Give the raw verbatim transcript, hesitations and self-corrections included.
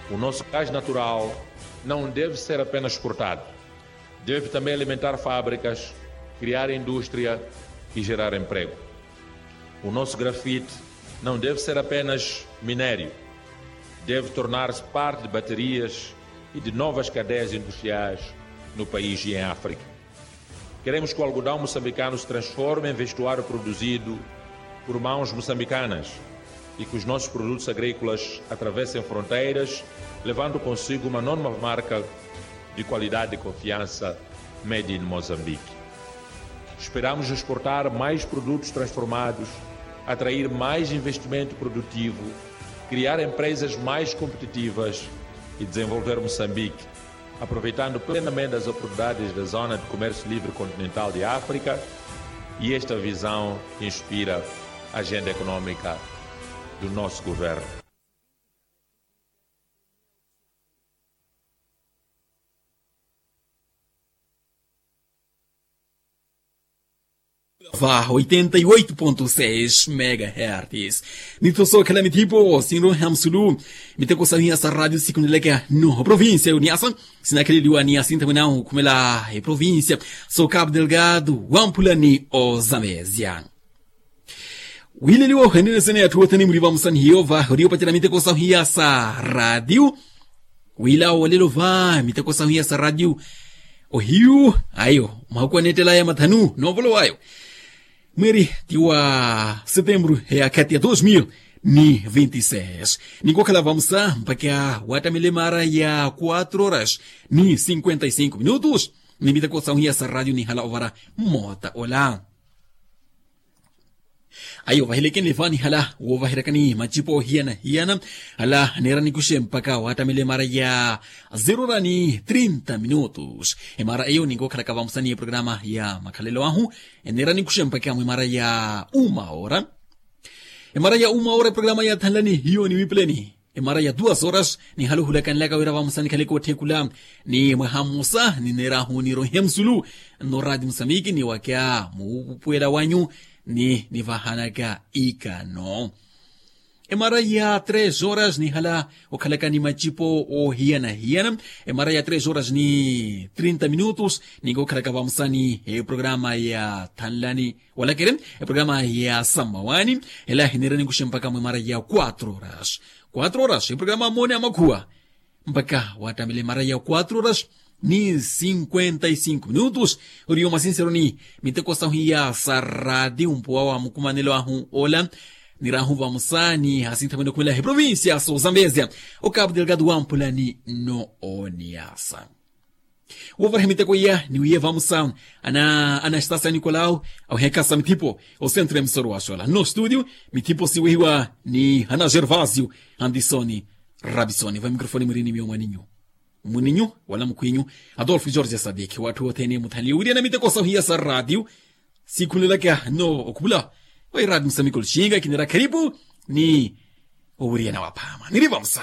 O nosso gás natural não deve ser apenas exportado. Deve também alimentar fábricas, criar indústria e gerar emprego. O nosso grafite não deve ser apenas minério. Deve tornar-se parte de baterias e de novas cadeias industriais no país e em África. Queremos que o algodão moçambicano se transforme em vestuário produzido por mãos moçambicanas e que os nossos produtos agrícolas atravessem fronteiras, levando consigo uma nova marca de qualidade e confiança, Made in Mozambique. Esperamos exportar mais produtos transformados, atrair mais investimento produtivo, criar empresas mais competitivas e desenvolver Moçambique, aproveitando plenamente as oportunidades da Zona de Comércio Livre Continental de África. E esta visão inspira a agenda econômica do nosso governo. Va oitenta e oito ponto seis megahertz. Nitho sookhela mithipo sinroha musulu miteko sahiya sa radio sikuneleke no provincia yuniasa. Sinakheleliwa ni asintamwena okhumela eprovincia so cabo delgado wamphula ni ozamezia. Wileliwo henene sene atthu othene muriva musani hiyo va oriopatela miteko sahiya sa radio. Wila wolelo va miteko sahiya sa radio ohiyu ayo mwakuwa nettela ya mathanu novolo wayo. Mweri ti wa setembro ya khati ya dos mil ni vinti seis. Ninkokhala vamusa mpakha wattamile mara ya quatro horas ni cinquenta e cinco minutos. Ni miteko sahiya sa radio nihala ovara mmota ola. Ayo vahilekenle vani hala wovaheryakani macipo hiyana hiyana. Hala neera nikuxe mpakha wattamile mara ya zerora ni trinta minutos. Emara eyo ninkokhalaka vamusani eprograma ya makhalelo ahu. Eneera nikuxe mpakha mwemara ya uma ora. Emara ya uma ora eprograma ya thanlani hiyo ni wipuleni. Emara ya duas horas nihala ohulakanelaka wira vamusa nikhaleke otthekula ni mwaha mmosa nineerahu nirohe musulu. Nno rati musamiki ni wakya muupuwela wanyu ni nivahanaka ikano. Emara ya tres horas nihala okhalaka ni macipo ohiyana hiyana. Emara ya tres horas ni trinta minutos ninkokhalaka vamusani eprograma ya thanlani walakere eprograma ya sammawani. Ela hineera nikuxe mpakha mwemara ya quatro horas. Quatro horas eprograma moone amakhuwa mpakha wattamile mara ya quatro horas ni cinquenta e cinco minutos. Oriyo mwasinseroni miteko sahiya sa radio mpuwa wa mukumanelo ahu ola nirahu vamusa ni asinthamwene okhumela eprovincia so zambezia o cabo delgado wamphula ni no oniasa. Wovaraha miteko iya niwiye vamusa ana anastasa nikolau awehekasa mithipo osentro ya misoro wa xola no studio. Mithipo siwehiwa ni hana gervasio andisoni rabisoni va mikrofoni mwirini miyo mwaninyu mwininyu wala mukhwinyu adolfo george sadiki watthu othene muthanliye owiriyana miteko sahiya sa radio. Sikhunelaka no okhupula wa iradi musamiko lixinga kinera kharipu ni owiriyana waphama niri vamusa.